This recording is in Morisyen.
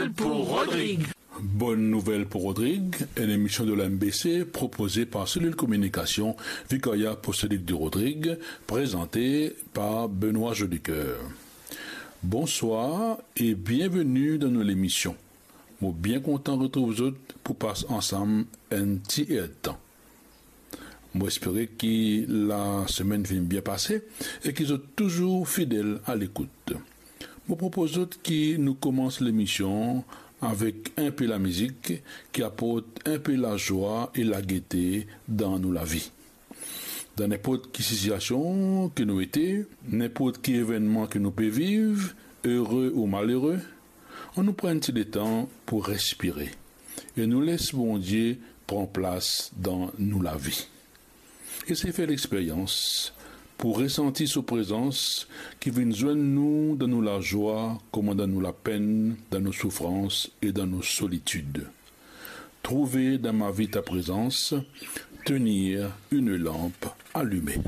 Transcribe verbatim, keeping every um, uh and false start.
Nouvel pou Rodrig. Bonne Nouvelle pour Rodrigue, une émission de l'M B C proposée par Cellule Communication, Vicariat Apostolique de Rodrigue, présentée par Benoît Jolicoeur. Bonsoir et bienvenue dans nos émissions. Mo bien kontan retrouv zot pou pas ansam enn ti erdtan. Mo espere ki lasemenn finn bien pase e ki zot touzour fidel a lekout. Mo propoz zot ki nou koumans lemision avek inpe lamizik ki aport inpe lazwa e lagete dan nou lavi. Dan ninport ki sitiasion ki nou ete, ninport ki evennman ki nou pe viv, ere ou malere, annou pran enn ti letan pou respire e nou les Bondie pran plas dan nou lavi. Esey fer lexperyans pou resanti so prezans ki vinn zwenn nou dan nou lazwa kouma dan nou lapenn, dan nou soufrans e dan nou solitid. Trouve dan ma vi ta prezans, tenir une lampe allumée.